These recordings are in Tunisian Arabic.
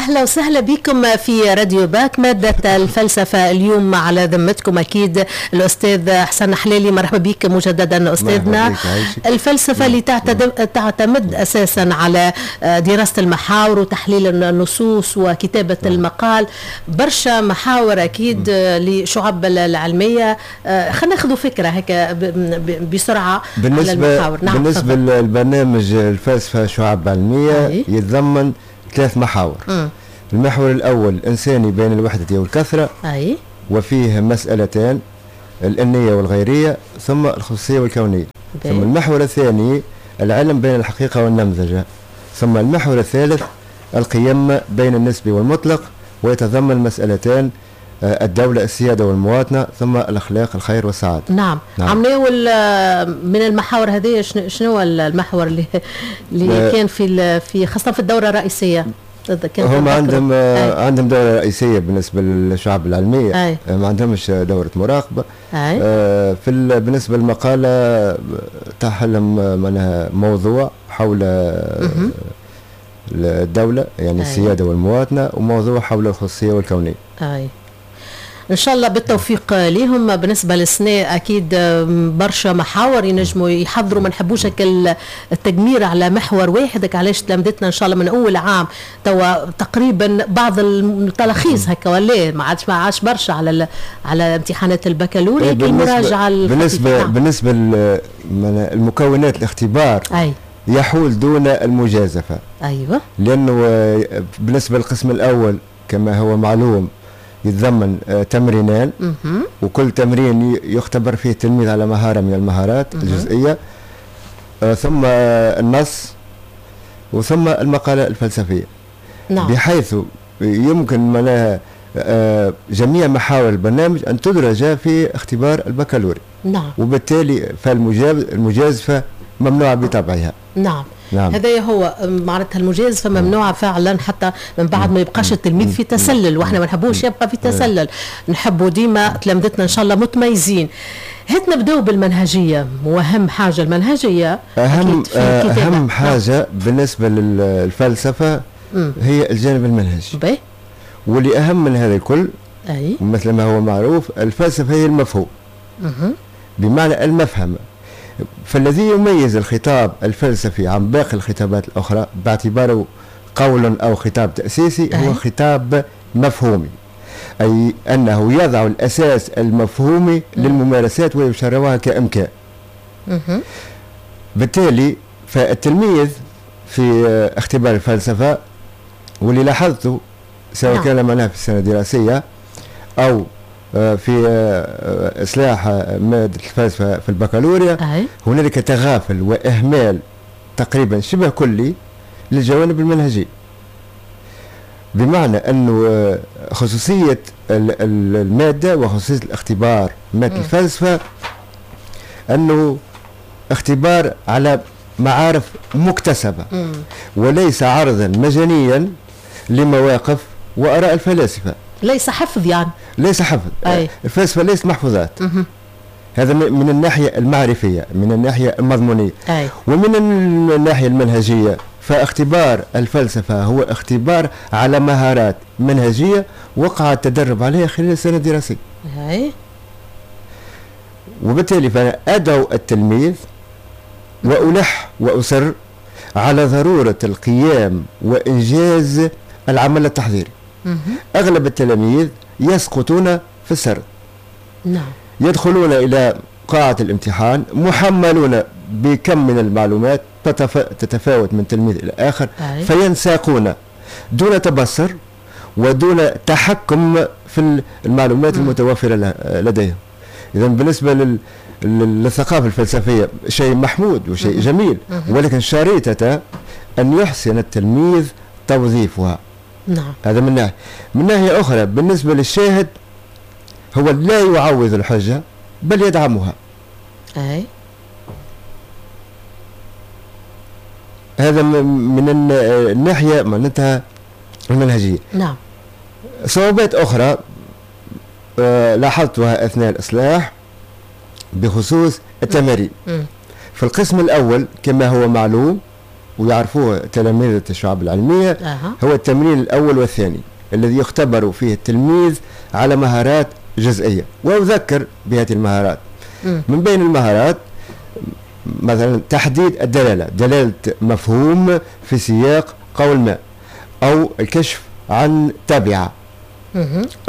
أهلا وسهلا بكم في راديو باك. مادة الفلسفة اليوم على ذمتكم أكيد الأستاذ حسن حلالي، مرحبا بك مجددا أستاذنا. الفلسفة اللي تعتمد أساسا على دراسة المحاور وتحليل النصوص وكتابة المقال، برشا محاور أكيد لشعب العلمية. خلينا ناخذ فكرة هكا بسرعة على المحاور. نعم، بالنسبة للبرنامج الفلسفة شعب علمية يتضمن ثلاث محاور. المحور الأول الإنساني بين الوحدة والكثرة، أي. وفيه مسألتان، الإنية والغيرية، ثم الخصوصية والكونية. ثم المحور الثاني العلم بين الحقيقة والنمذجة، ثم المحور الثالث القيم بين النسبي والمطلق، ويتضمن مسألتان، الدولة السيادة والمواطنة، ثم الأخلاق الخير والسعادة. نعم. نعم. عملناه من المحاور هذه، شنو المحور اللي كان في خاصة في الدورة الرئيسية؟ هم عندهم دورة رئيسية بالنسبة للشعب العلمية. أي. ما عندهمش دورة مراقبة. أي. في بالنسبة للمقالة تحلم معناها موضوع حول الدولة، يعني السيادة والمواطنة، وموضوع حول الخصوصية والكونية. أي. ان شاء الله بالتوفيق ليهم. بالنسبة للسنة اكيد برشا محاور ينجموا يحضروا، ما نحبوش التجمير على محور واحد، علاش تلامذتنا ان شاء الله من اول عام توا تقريبا بعض التلاخيص هكا ولا ما عادش برشا على امتحانات البكالوريا المراجعة. بالنسبة للمكونات الاختبار، أي. يحول دون المجازفة. ايوه، لانه بالنسبة للقسم الاول كما هو معلوم يتضمن تمرينان، وكل تمرين يختبر فيه التلميذ على مهارة من المهارات الجزئية، ثم النص، وثم المقالة الفلسفية. نعم. بحيث يمكن معناها جميع محاور البرنامج أن تدرج في اختبار البكالوريا. نعم. وبالتالي فالمجازفة ممنوعة بطبعها. نعم. نعم. هذا هو معناتها المجازفة ممنوعة فعلا، حتى من بعد ما يبقاش التلميذ في تسلل، واحنا ما نحبوش يبقى في تسلل، نحبوا ديما تلامذتنا ان شاء الله متميزين. هات نبداو بالمنهجية، واهم حاجة المنهجية. أهم حاجة. نعم. بالنسبة للفلسفة هي الجانب المنهجي. واللي أهم من هذا الكل، أي. مثل ما هو معروف، الفلسفة هي المفهوم، بمعنى المفهم. فالذي يميز الخطاب الفلسفي عن باقي الخطابات الأخرى باعتباره قول أو خطاب تأسيسي هو خطاب مفهومي، أي أنه يضع الأساس المفهومي للممارسات ويشرعها كإمكان. بالتالي فالتلميذ في اختبار الفلسفة، واللي لاحظته سواء كان معناها في السنة الدراسية أو في إصلاح مادة الفلسفة في البكالوريا، هنالك تغافل وإهمال تقريبا شبه كلي للجوانب المنهجية، بمعنى أنه خصوصية المادة وخصوصية الاختبار مادة الفلسفة أنه اختبار على معارف مكتسبة، وليس عرضا مجانيا لمواقف وآراء الفلاسفة. ليس حفظ، يعني ليس حفظ. أي. الفلسفة ليست محفوظات. هذا من الناحية المعرفية، من الناحية المضمونية. أي. ومن الناحية المنهجية فاختبار الفلسفة هو اختبار على مهارات منهجية وقع التدرب عليها خلال السنة الدراسية. أي. وبالتالي فأنا أدعو التلميذ وألح وأصر على ضرورة القيام وإنجاز العمل التحضيري. أغلب التلاميذ يسقطون في السرد. نعم. يدخلون إلى قاعة الامتحان محملون بكم من المعلومات تتفاوت من تلميذ إلى آخر. أي. فينساقون دون تبصر ودون تحكم في المعلومات المتوفرة لديهم. إذا بالنسبة للثقافة الفلسفية شيء محمود وشيء جميل، ولكن شريطة أن يحسن التلميذ توظيفها. نعم. هذا من ناحية. من ناحية أخرى بالنسبة للشاهد هو لا يعوض الحجة بل يدعمها. أي. هذا من الناحية معناتها المنهجية. نعم. صعوبات أخرى لاحظتها أثناء الإصلاح بخصوص التمارين. في القسم الأول كما هو معلوم ويعرفوه تلاميذ الشعب العلمية هو التمرين الأول والثاني الذي يختبر فيه التلميذ على مهارات جزئية، وأذكر بهذه المهارات. من بين المهارات مثلا تحديد الدلالة، دلالة مفهوم في سياق قول ما، أو الكشف عن تابعة،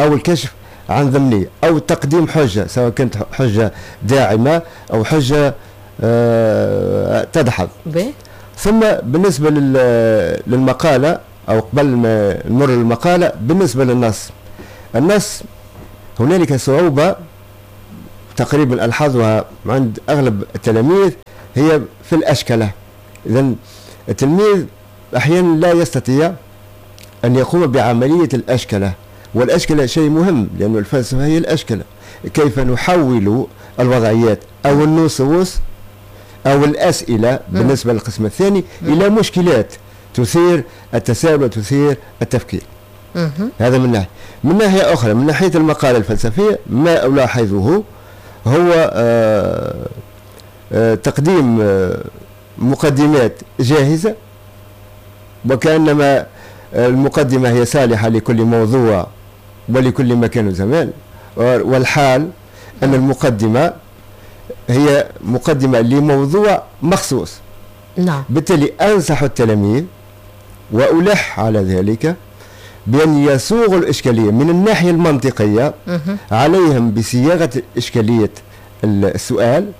أو الكشف عن ضمنية، أو تقديم حجة سواء كانت حجة داعمة أو حجة تدحض. ثم بالنسبة للمقالة، أو قبل ما نمر للمقالة، بالنسبة للنص، النص هنالك صعوبة تقريبا ألحظها عند أغلب التلاميذ، هي في الأشكلة. إذن التلميذ أحيانا لا يستطيع أن يقوم بعملية الأشكلة، والأشكلة شيء مهم لأن الفلسفة هي الأشكلة، كيف نحول الوضعيات أو النصوص أو الأسئلة بالنسبة للقسم الثاني إلى مشكلات تثير التساؤل وتثير التفكير. هذا من ناحية. من ناحية أخرى، من ناحية المقالة الفلسفية، ما ألاحظه هو تقديم مقدمات جاهزة، وكأنما المقدمة هي صالحة لكل موضوع ولكل مكان وزمان، والحال أن المقدمة هي مقدمة لموضوع مخصوص. نعم. بالتالي أنصح التلاميذ وألح على ذلك بأن يصوغوا الإشكالية من الناحية المنطقية. عليهم بصياغة إشكالية السؤال،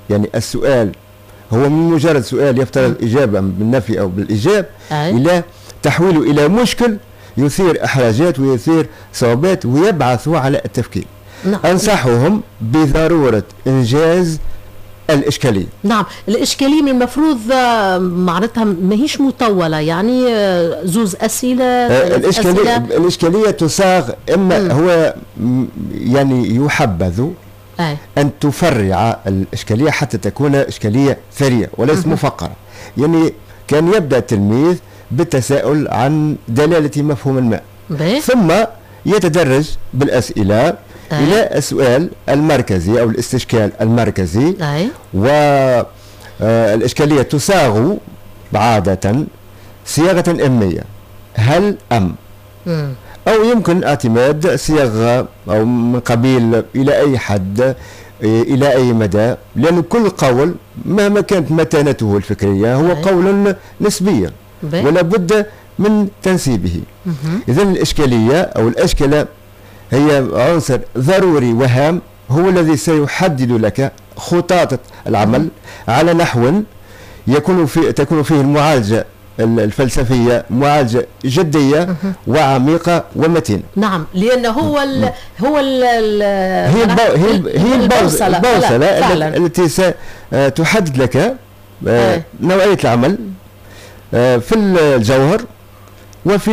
يعني السؤال هو من مجرد سؤال يفترض إجابة بالنفي أو بالإيجاب، إلى تحويله إلى مشكل يثير إحراجات ويثير صعوبات ويبعث على التفكير. نعم. أنصحهم بضرورة إنجاز الإشكالية. نعم، الإشكالية من المفروض معناتها ماهيش مطولة، يعني زوز أسئلة. الإشكالية تصاغ إما هو يعني يحبذ أن تفرع الإشكالية حتى تكون إشكالية ثرية وليس مفقرة. يعني كان يبدأ التلميذ بالتساؤل عن دلالة مفهوم ما، ثم يتدرج بالأسئلة إلى السؤال المركزي أو الاستشكال المركزي. والإشكالية تصاغ عادة صياغة إمية، هل أم، أو يمكن اعتماد صياغة أو من قبيل إلى أي حد، إلى أي مدى، لأن كل قول مهما كانت متانته الفكرية هو قول نسبيا ولا بد من تنسيبه. إذن الإشكالية أو الأشكالة هي عنصر ضروري وهام، هو الذي سيحدد لك خطاطة العمل على نحو تكون فيه المعالجة الفلسفية معالجة جدية وعميقة ومتينة. نعم، لأنه هو ال هو ال هي البوصلة التي ستحدد لك نوعية العمل في الجوهر وفي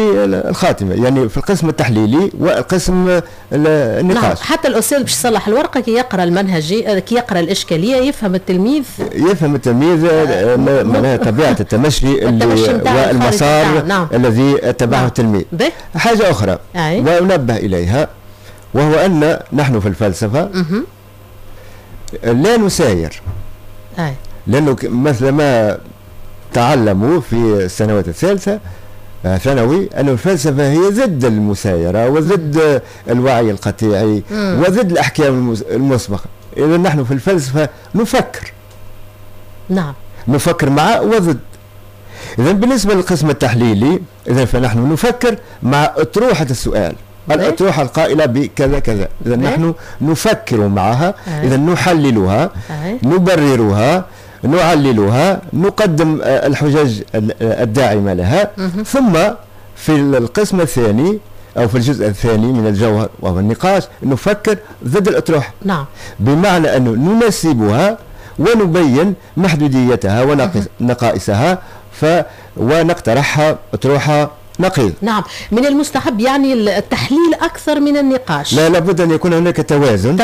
الخاتمة، يعني في القسم التحليلي والقسم النقاش. نعم، حتى الأستاذ باش يصلح الورقة كي يقرأ المنهجي، كي يقرأ الإشكالية يفهم التلميذ، يفهم التلميذ طبيعة التمشي والمسار. نعم. الذي اتبعه. نعم. التلميذ. حاجة أخرى وأنبه إليها، وهو أن نحن في الفلسفة لا نساير، لأنه مثل ما تعلموا في السنوات الثالثة ثانوي أن الفلسفة هي ضد المسايرة وضد الوعي القطيعي وضد الأحكام المسبقة. إذا نحن في الفلسفة نفكر. نعم، نفكر مع وضد. إذا بالنسبة للقسم التحليلي، إذا فنحن نفكر مع أطروحة السؤال، الأطروحة القائلة بكذا كذا. إذا نحن نفكر معها، إذا نحللها، نبررها، نعللها، نقدم الحجج الداعمة لها. ثم في القسم الثاني أو في الجزء الثاني من الجوهر وهو النقاش نفكر ضد الأطروحة. نعم. بمعنى أنه ننسبها ونبين محدوديتها ونقائصها ونقترحها أطروحة نقيض. نعم، من المستحب يعني التحليل أكثر من النقاش. لا، لابد أن يكون هناك توازن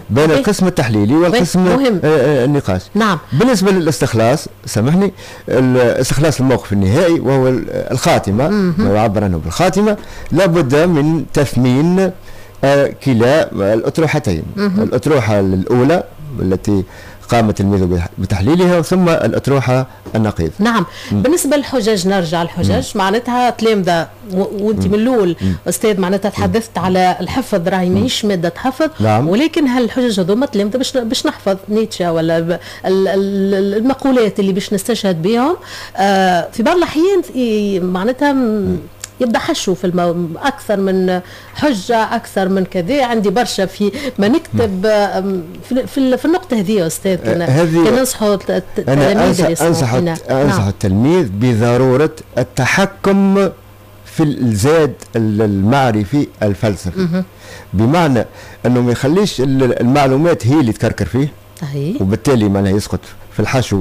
بين القسم التحليلي والقسم النقاش. نعم. بالنسبة للاستخلاص، سامحني، استخلاص الموقف النهائي وهو الخاتمة، ما يعبر عنه بالخاتمة، لابد من تثمين كلا الأطروحتين. الأطروحة الأولى التي قام التلميذ بتحليلها، ثم الأطروحة النقيض. نعم. بالنسبة للحجج، نرجع الحجج، معناتها تلامذة، وانت من الأول أستاذ معناتها تحدثت على الحفظ، راهي ماهيش مادة حفظ. ولكن هالحجج هذوما تلامذة باش نحفظ نيتشه ولا المقولات اللي باش نستشهد بهم، في بعض الأحيان معناتها يبدا حشو في اكثر من حجه، اكثر من كذا، عندي برشا في ما نكتب في النقطة هذه يا استاذ، كان ننصحوا التلاميذ. انا انصح التلميذ بضرورة التحكم في الزاد المعرفي الفلسفي، بمعنى انه ما يخليش المعلومات هي اللي تكركر فيه، وبالتالي معناها يسقط في الحشو.